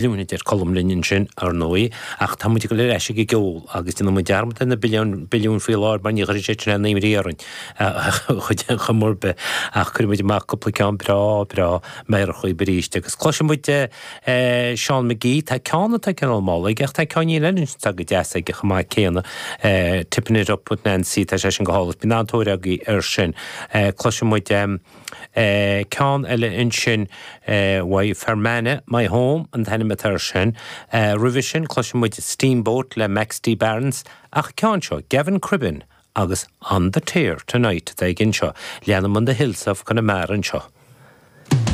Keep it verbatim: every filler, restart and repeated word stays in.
Billiún a deir Colm linn ansin, ar ndóigh, ach tá muid ag dul ar ais ag an gceol agus déanfaidh muid dearmad ar na billiún billiún faoi láthair mar ní chuirfidh siad sin aon imní orainn ar chuma ar bith ach cuirfidh muid amach cúpla ceann breá breá meidhreach dhaoibh arís agus cloisfidh muid Seán McGee, tá ceann atá cineál mall aige ach tá ceann eile atá go deas aige chomh maith céanna, Tipping It Up with Nancy, tá sé sin go hálainn, bíonn an-tóir agaibh air sin. Cloisfidh muid ceann eile ansin uaidh Fermanagh, My Home an t-ainm atá air sin. Roimhe sin cloisfidh muid Steamboat le Max D. Barnes ach ceann seo Gavin Cribbin agus On the Tear Tonight atá aige anseo. Leanann On the Hills of Connemara anseo.